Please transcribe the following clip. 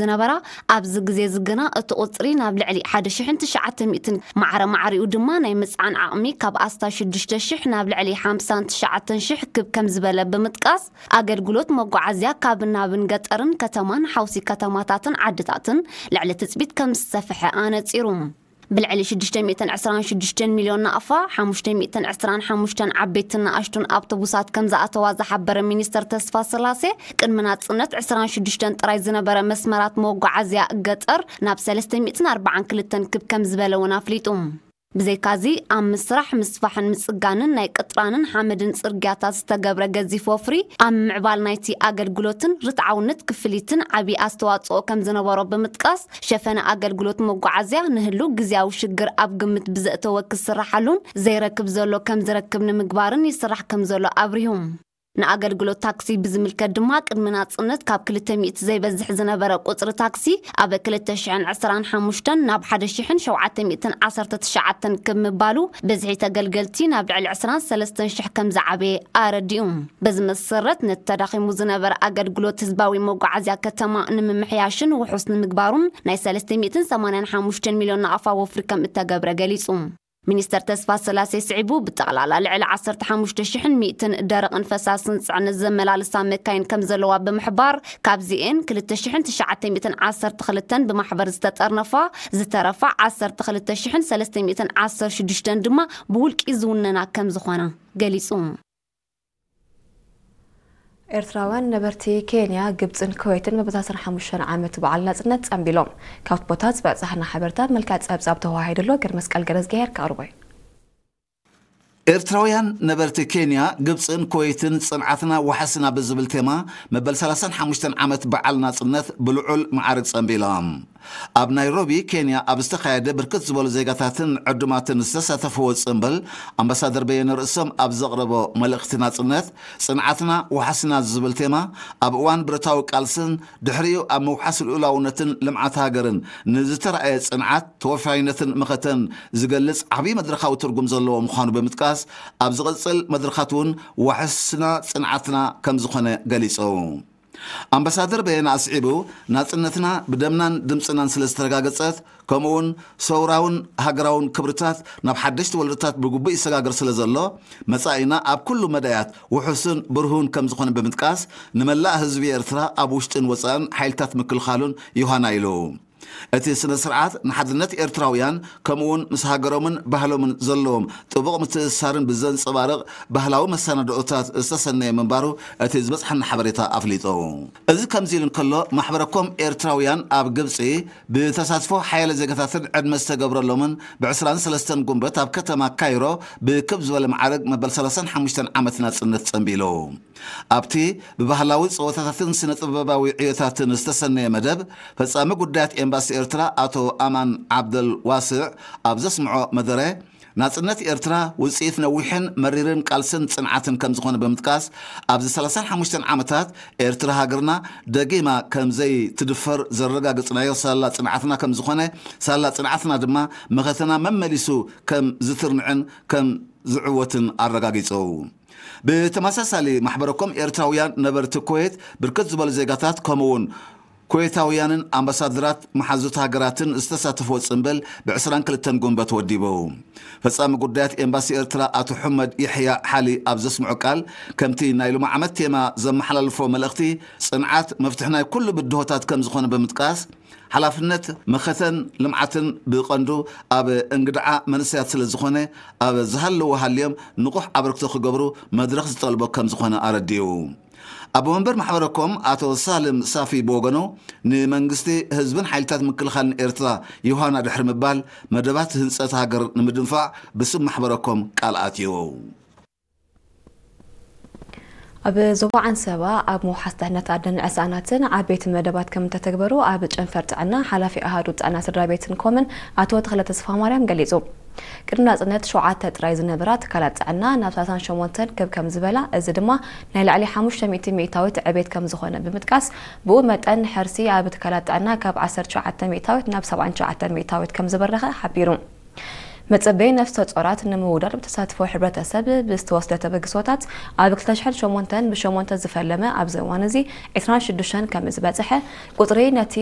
ዝነበራ፣ ኣብዚ ግዜ እዚ ግና እቲ ቁጽሪ ናብ ልዕሊ ሓደ ሽሕን ትሽዓተ ሚእትን፣ ማዕረ ማዕሪኡ ድማ ናይ ምጽዓን ዓቕሚ ካብ ኣስታት ሽዱሽተ ሽሕ ናብ ልዕሊ ሓምሳን ትሽዓተን ሽሕ ክብ ከም ዝበለ ብምጥቃስ፣ ኣገልግሎት መጓዓዝያ ካብ ናብን ገጠርን ከተማን ሓውሲ ከተማታትን ዓድታትን ልዕሊ ትጽቢት ከም ዝሰፍሐ ኣነጺሩ። ብልዕሊ ሽዱሽተ ሚእትን ዕስራን ሽዱሽተን ሚልዮን ናቕፋ፣ ሓሙሽተ ሚእትን ዕስራን ሓሙሽተን ዓበይትን ንኣሽቱን ኣውቶቡሳት ከም ዝኣተዋ ዝሓበረ ሚኒስተር ተስፋ ስላሴ፣ ቅድሚ ናጽነት ዕስራን ሽዱሽተን ጥራይ ዝነበረ መስመራት መጓዓዝያ ገጠር ናብ ሰለስተ ሚእትን ኣርባዓን ክልተን ክብ ከም ዝበለ እውን ኣፍሊጡ። ብዘይካዚ፣ ኣብ ምስራሕ፣ ምስፋሕን ምጽጋንን ናይ ቅጥራንን ሓመድን ጽርግያታት ዝተገብረ ገዚፍ ወፍሪ፣ ኣብ ምዕባል ናይቲ ኣገልግሎትን ርትዓውነት ክፍሊትን ዓቢ ኣስተዋጽኦ ከም ዝነበሮ ብምጥቃስ፣ ሸፈነ ኣገልግሎት መጓዓዝያ ንህሉ ግዝያዊ ሽግር ኣብ ግምት ብዘእተወ ክስርሓሉን ዘይረክብ ዘሎ ከም ዝረክብ ንምግባርን ይስራሕ ከም ዘሎ ኣብሪሁ። ንኣገልግሎት ታክሲ ብዝምልከት ድማ፣ ቅድሚ ናጽነት ካብ ክልተ ሚእቲ ዘይበዝሕ ዝነበረ ቁጽሪ ታክሲ፣ ኣብ ክልተ ሽሕን ዕስራን ሓሙሽተን ናብ ሓደ ሽሕን ሸውዓተ ሚእትን ዓሰርተ ትሽዓተን ክብ ምባሉ፣ ብዝሒ ተገልገልቲ ናብ ልዕሊ ዕስራን ሰለስተን ሽሕ ከም ዝዓበየ ኣረዲኡ። በዚ መሰረት፣ ነቲ ተዳኺሙ ዝነበረ ኣገልግሎት ህዝባዊ መጓዓዝያ ከተማ ንምምሕያሽን ውሑስ ንምግባሩን ናይ ሰለስተ ሚእትን ሰማንያን ሓሙሽተን ሚልዮን ናቕፋ ወፍሪ ከም እተገብረ ገሊጹ። ሚኒስተር ተስፋ ስላሴ ስዒቡ፣ ብጠቕላላ ልዕሊ ዓሰርተ ሓሙሽተ ሽሕን ሚእትን ደረቕን ፈሳስን ጽዕነት ዘመላልሳ መካይን ከም ዘለዋ ብምሕባር፣ ካብዚኤን ክልተ ሽሕን ትሽዓተ ሚእትን ዓሰርተ ክልተን ብማሕበር ዝተጠርነፋ፣ ዝተረፋ ዓሰርተ ክልተ ሽሕን ሰለስተ ሚእትን ዓሰርተ ሽዱሽተን ድማ ብውልቂ ዝውነና ከም ዝኾና ገሊጹ። ኤርትራውያን ነበርቲ ኬንያ፣ ግብጽን ኩዌትን መበል ሰላሳን ሓሙሽተን ዓመት በዓል ናጽነት ጸንቢሎም። ካብቲ ቦታ ዝበጻሕና ሓበሬታ መልክዕ ጸብጻብ ተወሃሂድሎ። ገርመስቀል ገረዝግሄር ከቕርቦ እዩ። ኤርትራውያን ነበርቲ ኬንያ፣ ግብጽን ኩዌትን ጽንዓትና ዋሕስና ብዝብል ቴማ መበል ሰላሳን ሓሙሽተን ዓመት በዓል ናጽነት ብልዑል መዓርግ ጸንቢሎም። ኣብ ናይሮቢ ኬንያ ኣብ ዝተኻየደ ብርክት ዝበሉ ዜጋታትን ዕዱማትን ዝተሳተፍዎ ጽምብል፣ ኣምባሳደር በየነ ርእሶም ኣብ ዘቕረቦ መልእኽቲ ናጽነት፣ ጽንዓትና ዋሕስና ዝብል ቴማ ኣብ እዋን ብረታዊ ቃልስን ድሕሪኡ ኣብ ምውሓስ ልኡላውነትን ልምዓት ሃገርን ንዝተረኣየ ጽንዓት፣ ተወፋይነትን መኸተን ዝገልጽ ዓብዪ መድረኻዊ ትርጉም ዘለዎ ምዃኑ ብምጥቃስ፣ ኣብ ዝቕጽል መድረኻት እውን ዋሕስና ጽንዓትና ከም ዝኾነ ገሊጹ። ኣምባሳደር በየነ ኣስዒቡ፣ ናጽነትና ብደምናን ድምጽናን ስለ ዝተረጋገጸት፣ ከምኡውን ሰውራውን ሃገራውን ክብርታት ናብ ሓደሽቲ ወለዶታት ብግቡእ ይሰጋገር ስለ ዘሎ፣ መጻኢና ኣብ ኩሉ መዳያት ውሑስን ብርሁን ከም ዝኾነ ብምጥቃስ፣ ንመላእ ህዝቢ ኤርትራ ኣብ ውሽጥን ወጻእን ሓይልታት ምክልኻሉን ዮሃና ኢሉ። እቲ ስነ ስርዓት ንሓድነት ኤርትራውያን፣ ከምኡውን ምስ ሃገሮምን ባህሎምን ዘለዎም ጥቡቕ ምትእስሳርን ብዘንጸባርቕ ባህላዊ መሰናድኦታት ዝተሰነየ ምንባሩ እቲ ዝበጽሓና ሓበሬታ ኣፍሊጡ። እዚ ከምዚ ኢሉ እንከሎ፣ ማሕበረኮም ኤርትራውያን ኣብ ግብጺ ብተሳትፎ ሓያለ ዜጋታትን ዕድመ ዝተገብረሎምን፣ ብ ዕስራን ሰለስተን ጉንበት ኣብ ከተማ ካይሮ ብክብ ዝበለ መዓርግ መበል ሰላሳን ሓሙሽተን ዓመት ናጽነት ጸንቢሉ። ኣብቲ ብባህላዊ ጸወታታትን ስነ ጥበባዊ ዕዮታትን ዝተሰነየ መደብ፣ ፈጻሚ ጉዳያት ኤምባሲ ኤርትራ ኣቶ ኣማን ዓብደል ዋስዕ ኣብ ዘስምዖ መደረ፣ ናጽነት ኤርትራ ውጽኢት ነዊሕን መሪርን ቃልስን ጽንዓትን ከም ዝኾነ ብምጥቃስ፣ ኣብዚ ሰላሳን ሓሙሽተን ዓመታት ኤርትራ ሃገርና ደጊማ ከም ዘይትድፈር ዘረጋግጽናዮ ሳላ ጽንዓትና ከም ዝኾነ፣ ሳላ ጽንዓትና ድማ መኸተና መመሊሱ ከም ዝትርንዕን ከም ዝዕወትን ኣረጋጊጹ። ብተመሳሳሊ፣ ማሕበረኮም ኤርትራውያን ነበርቲ ኩዌት፣ ብርክት ዝበሉ ዜጋታት፣ ከምኡውን ኩዌታውያንን ኣምባሳደራት መሓዙት ሃገራትን ዝተሳተፍዎ ጽምብል ብ ዕስራን ክልተን ጉንበት ወዲቡ። ፈጻሚ ጉዳያት ኤምባሲ ኤርትራ ኣቶ ሑመድ የሕያ ሓሊ ኣብ ዘስምዖ ቃል፣ ከምቲ ናይ ሎሚ ዓመት ቴማ ዘመሓላልፎ መልእኽቲ፣ ጽንዓት መፍትሒ ናይ ኩሉ ብድሆታት ከም ዝኾነ ብምጥቃስ፣ ሓላፍነት መኸተን ልምዓትን ብቐንዱ ኣብ እንግድዓ መንእሰያት ስለ ዝኾነ፣ ኣብ ዝሃለዎ ሃልዮም ንቑሕ ኣበርክቶ ክገብሩ መድረኽ ዝጠልቦ ከም ዝኾነ ኣረዲኡ። ኣቦ መንበር ማሕበረኮም ኣቶ ሳልም ሳፊ ብወገኑ፣ ንመንግስቲ፣ ህዝብን ሓይልታት ምክልኻልን ኤርትራ ዮሃና ድሕሪ ምባል፣ መደባት ህንጸት ሃገር ንምድንፋዕ ብስም ማሕበረኮም ቃል ኣትዩ። ኣብ ዞባ ዓንሰባ ኣብ ምውሓስ ድሕነት ኣደን ዕሳናትን ዓበይቲ መደባት ከም እተተግበሩ ኣብ ጨንፈር ጥዕና ሓላፊ ኣሃዱ ጥዕና ስድራ ቤትን ኮምን ኣቶ ተኽለ ተስፋማርያም ገሊጹ። ቅድሚ ናጽነት ሸውዓተ ጥራይ ዝነበራ ትካላት ጥዕና ናብ ሰላሳን ሸሞንተን ክብ ከም ዝበላ፣ እዚ ድማ ናይ ላዕሊ ሓሙሽተ ሚእቲ ሚእታዊት ዕቤት ከም ዝኾነ ብምጥቃስ፣ ብኡ መጠን ሕርሲ ኣብ ትካላት ጥዕና ካብ ዓሰርተ ሸውዓተ ሚእታዊት ናብ ሰብዓን ትሽዓተን ሚእታዊት ከም ዝበረኸ ሓቢሩ። መጸበይ ነፍሰ ጾራት ንምውዳድ ብተሳትፎ ሕብረተሰብ ብዝተወስደ ተበግሶታት ኣብ ክልተ ሽሕን ሸሞንተን ብሸሞንተ ዝፈለመ ኣብዚ እዋን እዚ ዕስራን ሽዱሽተን ከም ዝበጽሐ ቁጽሪ ነቲ